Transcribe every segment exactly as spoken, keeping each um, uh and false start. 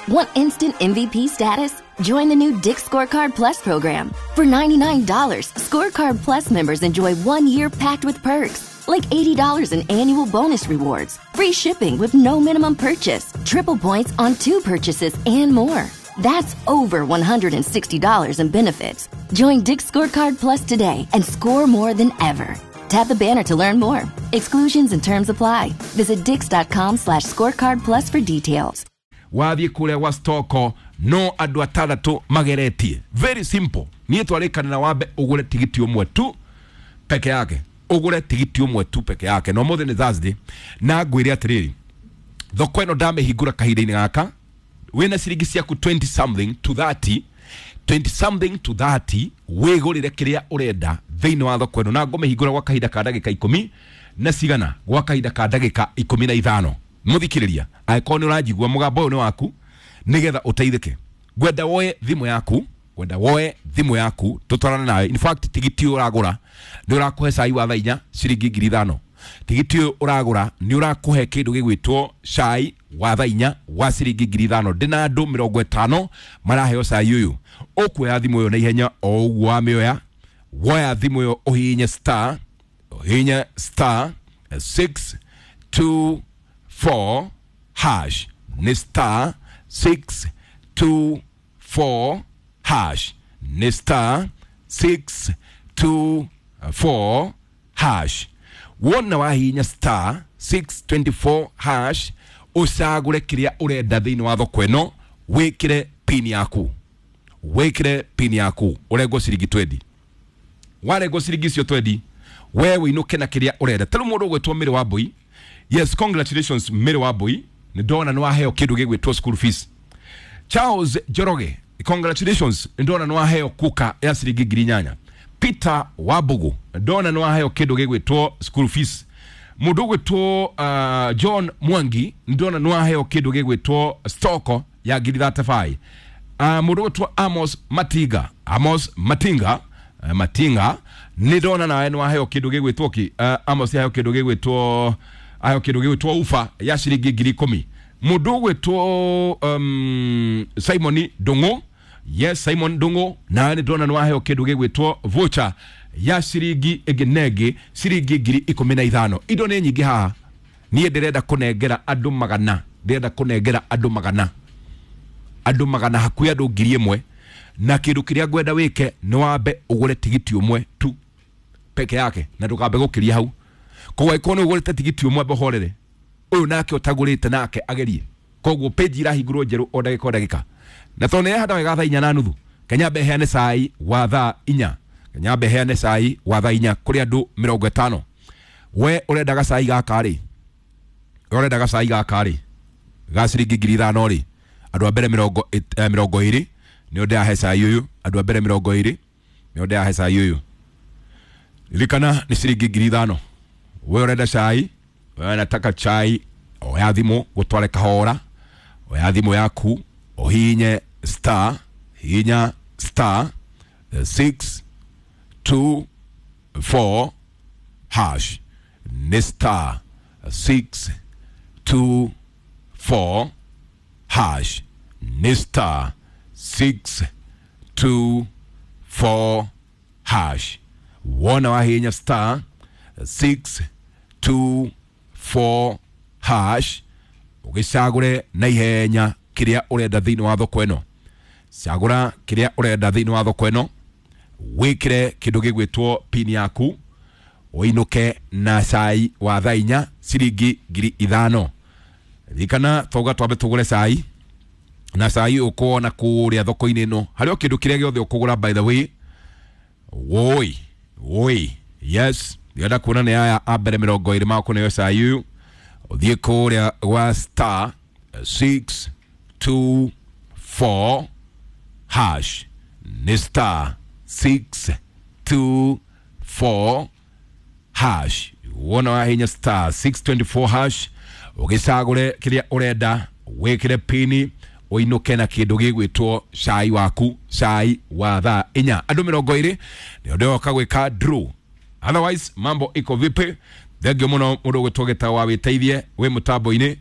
Want instant M V P status? Join the new Dick's Scorecard Plus program. For ninety-nine dollars, Scorecard Plus members enjoy one year packed with perks, like eighty dollars in annual bonus rewards, free shipping with no minimum purchase, triple points on two purchases, and more. That's over one hundred sixty dollars in benefits. Join Dick's Scorecard Plus today and score more than ever. Tap the banner to learn more. Exclusions and terms apply. Visit dicks.com slash scorecard plus for details. Wathiĩ kũrĩa gwa stoko no andũ atandatũ mageretie. Very simple. Niĩ twarĩkanĩra wambe ũgũre tigiti ũmwe tu peke yake. Ũgũre tigiti ũmwe tu peke yake. Na ũmũthĩ nĩ Thursday na ngwĩre atĩrĩrĩ, thoko ĩno ndamĩhingũra kahinda-inĩ gaka wĩna ciringi ciaku twenty something to thirty, twenty something to thirty, wĩgũrĩre kĩrĩa ũrenda thĩinĩ wa thoko ĩno, na ngũmĩhingũra gwa kahinda ka ndagĩka ikũmi na cigana, gwa kahinda ka ndagĩka ikũmi na ithano. Mũthikĩrĩria, angĩkorwo nĩ ũranjigua mũgambo ũyũ nĩ waku nĩgetha ũteithĩke, ngwenda woe thimũ yaku, ngwenda woe thimũ yaku tũtwarane nawe. In fact, tigiti ũyũ ũragũra nĩ ũrakũhe cai wa thaa inya ciringi ngiri ithano. Tigiti ũyũ ũragũra nĩ ũrakũhe kĩndũ gĩgwĩtwo cai wa thaa inya wa ciringi ngiri ithano. Ndĩna andũ mĩrongo ĩtano maraheo cai ũyũ. Ũkuoya thimũ ĩyo na ihenya o ũguo wamĩoya, woya thimũ ĩyo ũhihinye star, ũhihinye star six two four hash. Nĩ star six two four hash. Nĩ star six two four hash. Wona wahihinya star six twenty-four hash, ũcagũre kĩrĩa ũrenda thĩinĩ wa thoko ĩno, wĩkĩre pin yaku, wĩkĩre pin yaku, ũrengwo ciringi twenty. Warengwo ciringi icio twenty, we wĩinũke na kĩrĩa ũrenda. Ta rĩu mũndũ ũgwĩtwo Mary Wambui, yes, congratulations Mary Wambui, nĩ ndona nĩ waheo kĩndũ gĩgwĩtwo school fees. Charles Njoroge, congratulations, nĩ ndona nĩ waheo kuka ya ciringi ngiri inyanya. Peter Wabugu, ndona nĩ waheo kĩndũ gĩgwĩtwo school fees. Mũndũ ũgwĩtwo uh, John Mwangi, ndona nĩ waheo kĩndũ gĩgwĩtwo stoko ya ngiri thirty-five. Uh, mũndũ ũgwĩtwo Amos Matinga, Amos Matinga, uh, Matinga, nĩ ndona nawe nĩ waheo kĩndũ gĩgwĩtwo ki, uh, Amos yaheo kĩndũ gĩgwĩtwo, aheo kĩndũ gĩgwĩtwo ufa ya ciringi ngiri ikũmi. Mũndũ ũgwĩtwo um, Simon Ndung'u, yes, Simon Ndung'u, nawe nĩ ndona nĩ waheo kĩndũ gĩgwĩtwo voucher ya ciringi ĩngĩ na ĩngĩ ciringi ngiri ikũmi na ithano. Indo nĩ nyingĩ haha. Niĩ ndĩrenda kũnengera andũ magana, ndĩrenda kũnengera andũ magana, andũ magana hakuhĩ andũ ngiri ĩmwe. Na kĩndũ kĩrĩa ngwenda wĩke nĩ wambe ũgũre tigiti ũmwe tu peke yake, na ndũkambe gũkĩria hau. Koguo angĩkorwo nĩ ũgũrĩte tigiti ũmwe, mbohorere ũyũ nake ũtagũrĩte nake agerie. Koguo page irahingũrwo njerũ o ndagĩka o ndagĩka. Na tondũ nĩyahanda wega thaa inya na nuthu, Kenya mbe heane cai wa thaa inya, Kenya mbe heane cai wa thaa inya kũrĩ andũ mĩrongo ĩtano. We ũrenda gacai gaka rĩ, we ũrenda gacai gaka rĩ ga ciringi ngiri ithano rĩ, andũ a mbere mĩrongo ĩt-, eh, mĩrongo ĩrĩ nĩo ndĩrahe cai ũyũ. Andũ a mbere mĩrongo ĩrĩ nĩo ndĩrahe cai ũyũ. Ririkana nĩ ciringi ngiri ithano. We ũrenda cai, we unataka chai, oya thimũ gũtware kahora, oya thimũ yaku ũhihinye star, hihinya star six two four hash. Nĩ star six two four hash. Nĩ star six two four hash. Wona wahihinya star six two four hash, ũgĩcagũre na ihenya kĩrĩa ũrenda thĩinĩ wa thoko ĩno. Cagũra kĩrĩa ũrenda thĩinĩ wa thoko ĩno, wĩkĩre kĩndũ gĩgwĩtwo pin yaku, ũinũke na cai wa thaa inya ciringi ngiri ithano. Ririkana twauga twambe tũgũre cai, na cai ũkuona kũrĩa thoko-inĩ ĩno harĩ o kĩndũ kĩrĩa gĩothe ũkũgũra. By the way, woi woi, yes, ndĩrenda kuona nĩ aya a mbere mĩrongo ĩrĩ makũneo cai ũyũ. Ũthiĩ kũrĩa gwa star six two four hash. Nĩ star six two four hash. Wona wahinya star six twenty-four hash, ũgĩcagũre kĩrĩa ũrenda, wĩkĩre pini, ũinũke na kĩndũ gĩgwĩtwo cai waku, cai wa thaa inya. Andũ mĩrongo ĩrĩ nĩo ndĩroka gwĩka draw. Otherwise mambo iko vipi? Thengio mũno mũndũ ũgwĩtwo Gĩtaũ wa wĩteithie wĩ mũtambo-inĩ.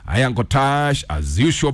I am Kotash as usual.